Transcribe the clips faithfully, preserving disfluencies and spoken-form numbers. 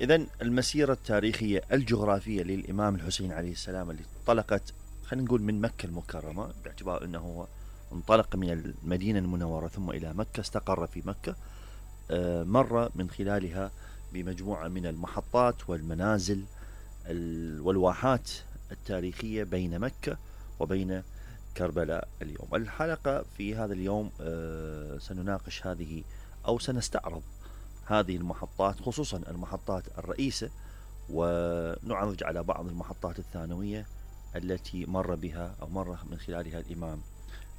إذن المسيرة التاريخية الجغرافية للإمام الحسين عليه السلام اللي انطلقت خلينا نقول من مكة المكرمة، باعتبار أنه هو انطلق من المدينة المنورة ثم إلى مكة، استقر في مكة، مر من خلالها بمجموعة من المحطات والمنازل والواحات التاريخية بين مكة وبين كربلاء. اليوم الحلقة في هذا اليوم سنناقش هذه أو سنستعرض هذه المحطات، خصوصا المحطات الرئيسة، ونعرج على بعض المحطات الثانوية التي مر بها أو مر من خلالها الإمام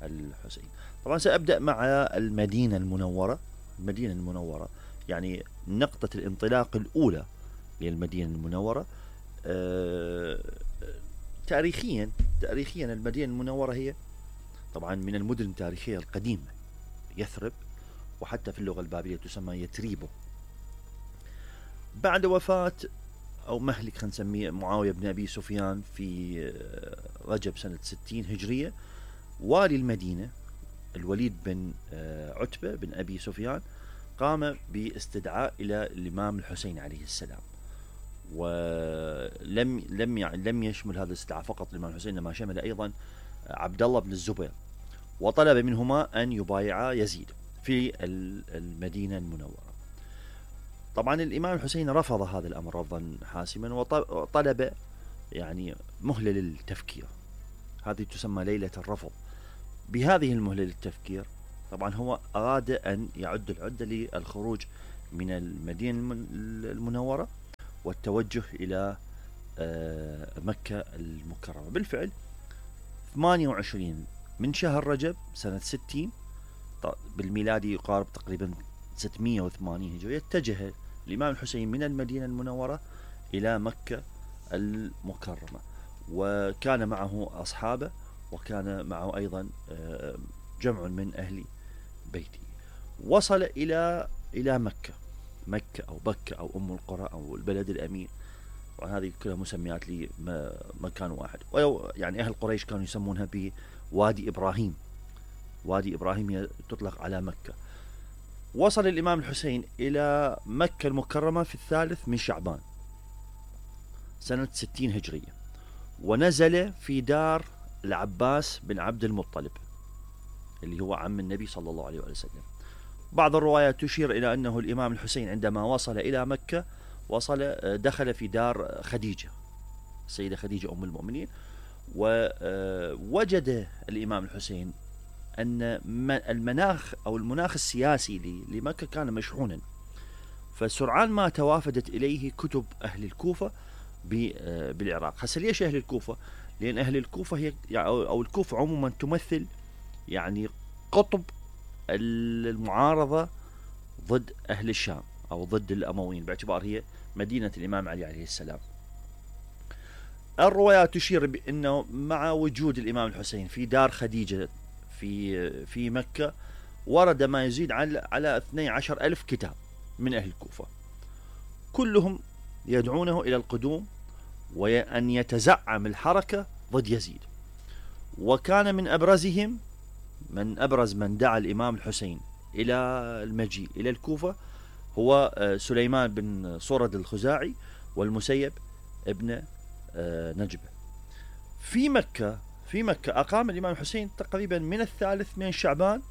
الحسين. طبعا سأبدأ مع المدينة المنورة. المدينة المنورة يعني نقطة الانطلاق الأولى للمدينة المنورة. أه تاريخيا تاريخيا المدينة المنورة هي طبعا من المدن التاريخية القديمة، يثرب، وحتى في اللغة البابلية تسمى يتريبو. بعد وفاة أو مهلك خلينا نسميه معاوية بن أبي سفيان في رجب سنة ستين هجرية، والي المدينة الوليد بن عتبة بن أبي سفيان قام باستدعاء إلى الإمام الحسين عليه السلام، ولم لم يعني لم يشمل هذا الاستدعاء فقط الإمام الحسين، إنما شمل أيضا عبد الله بن الزبير، وطلب منهما أن يبايعا يزيد في المدينة المنورة. طبعا الإمام الحسين رفض هذا الأمر رفضا حاسما، وطلب يعني مهلة للتفكير، هذه تسمى ليلة الرفض. بهذه المهلة للتفكير طبعا هو أراد أن يعد العدة للخروج من المدينة المنورة والتوجه إلى مكة المكرمة. بالفعل ثمانية وعشرين من شهر رجب سنة ستين بالميلادي يقارب تقريبا ستمائة وثمانين هجرية، اتجه الإمام الحسين من المدينة المنورة إلى مكة المكرمة، وكان معه أصحابه، وكان معه أيضا جمع من أهل بيته. وصل إلى إلى مكة مكة أو بكة أو أم القرى أو البلد الأمين، وهذه كلها مسميات لمكان واحد. يعني أهل قريش كانوا يسمونها بوادي إبراهيم، وادي إبراهيم تطلق على مكة. وصل الإمام الحسين إلى مكة المكرمة في الثالث من شعبان سنة ستين هجرية، ونزل في دار العباس بن عبد المطلب اللي هو عم النبي صلى الله عليه وسلم. بعض الروايات تشير إلى أنه الإمام الحسين عندما وصل إلى مكة وصل دخل في دار خديجة، السيدة خديجة أم المؤمنين، ووجد الإمام الحسين أن المناخ أو المناخ السياسي لمكة كان مشحونا، فسرعان ما توافدت إليه كتب أهل الكوفة بالعراق. هسه ليش أهل الكوفة؟ لأن أهل الكوفة هي أو الكوفة عموما تمثل يعني قطب المعارضة ضد أهل الشام أو ضد الأمويين، باعتبار هي مدينة الإمام علي عليه السلام. الروايات تشير بأنه مع وجود الإمام الحسين في دار خديجة في في مكة ورد ما يزيد على على اثني عشر ألف كتاب من أهل الكوفة، كلهم يدعونه إلى القدوم وأن يتزعم الحركة ضد يزيد. وكان من أبرزهم من أبرز من دعا الإمام الحسين إلى المجيء إلى الكوفة هو سليمان بن صرد الخزاعي والمسيب ابن نجبة. في مكة في مكة أقام الإمام الحسين تقريبا من الثالث من شعبان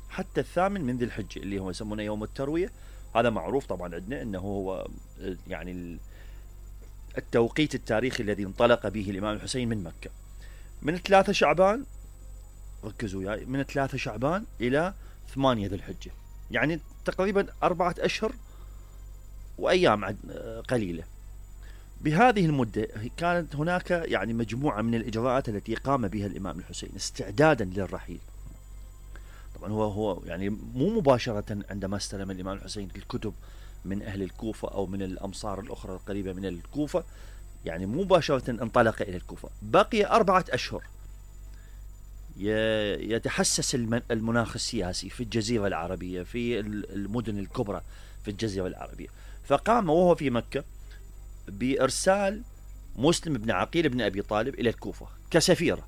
حتى الثامن من ذي الحجة اللي هو يسمونه يوم التروية. هذا معروف طبعا عندنا أنه هو يعني التوقيت التاريخي الذي انطلق به الإمام الحسين من مكة، من ثلاثة شعبان، ركزوا وياي، من ثلاثة شعبان إلى ثمانية ذي الحجة، يعني تقريبا أربعة أشهر وأيام قليلة. بهذه المدة كانت هناك يعني مجموعة من الإجراءات التي قام بها الإمام الحسين استعدادا للرحيل. طبعا هو هو يعني مو مباشرة عندما استلم الإمام الحسين الكتب من أهل الكوفة أو من الأمصار الأخرى القريبة من الكوفة، يعني مباشرة انطلق إلى الكوفة. بقي أربعة أشهر يتحسس المناخ السياسي في الجزيرة العربية، في المدن الكبرى في الجزيرة العربية، فقام وهو في مكة بإرسال مسلم بن عقيل بن أبي طالب إلى الكوفة كسفيرة،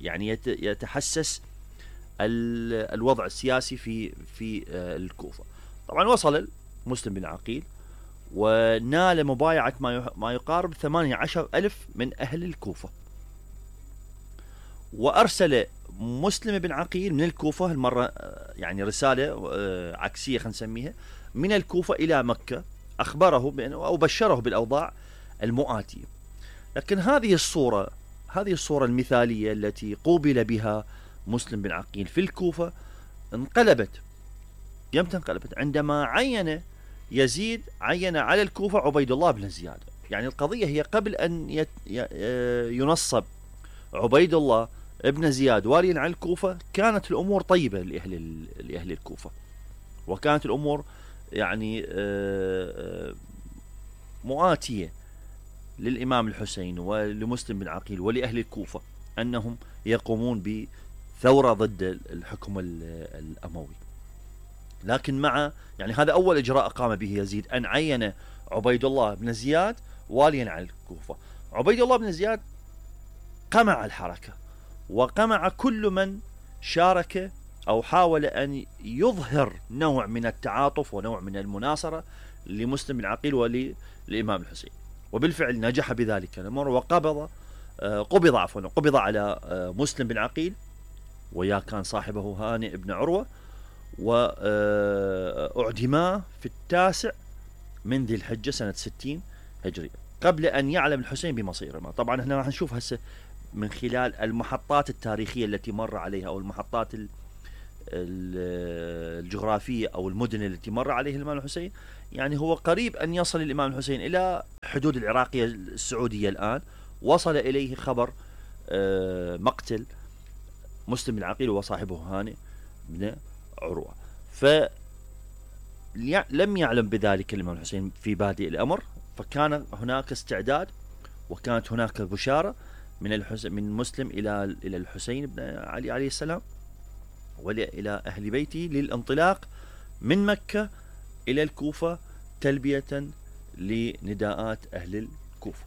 يعني يتحسس الوضع السياسي في في الكوفة. طبعا وصل مسلم بن عقيل ونال مبايعة ما يقارب ثمانية عشر ألف من أهل الكوفة. وأرسل مسلم بن عقيل من الكوفة المرة يعني رسالة عكسية خلينا نسميها من الكوفة إلى مكة، أخبره أو بشره بالأوضاع المؤاتية. لكن هذه الصورة هذه الصورة المثالية التي قوبل بها مسلم بن عقيل في الكوفة انقلبت. يمتى انقلبت؟ عندما عين يزيد عين على الكوفة عبيد الله بن زياد. يعني القضية هي قبل أن ينصب عبيد الله ابن زياد واليا على الكوفة كانت الأمور طيبة لأهل لأهل الكوفة، وكانت الأمور يعني مؤاتية للإمام الحسين ولمسلم بن عقيل ولأهل الكوفة أنهم يقومون بثورة ضد الحكم الأموي. لكن مع يعني هذا أول إجراء قام به يزيد، أن عين عبيد الله بن زياد واليا على الكوفة. عبيد الله بن زياد قمع الحركة وقمع كل من شارك أو حاول أن يظهر نوع من التعاطف ونوع من المناصرة لمسلم بن عقيل وللإمام الحسين، وبالفعل نجح بذلك الأمر. وقبض قبض عفوا قبض على مسلم بن عقيل، ويا كان صاحبه هانئ بن عروة، وأعدما في التاسع من ذي الحجة سنة ستين هجرية قبل أن يعلم الحسين بمصيره. طبعا احنا راح نشوف هسه من خلال المحطات التاريخية التي مر عليها أو المحطات الجغرافية أو المدن التي مر عليها الإمام الحسين، يعني هو قريب أن يصل الإمام الحسين إلى حدود العراقية السعودية. الآن وصل إليه خبر مقتل مسلم بن عقيل وصاحبه هانئ بن عروة، فلم يعلم بذلك الإمام الحسين في بادئ الأمر، فكان هناك استعداد وكانت هناك بشارة من الحسين من مسلم إلى إلى الحسين بن علي عليه السلام وإلى أهل بيته للانطلاق من مكة إلى الكوفة تلبية لنداءات أهل الكوفة.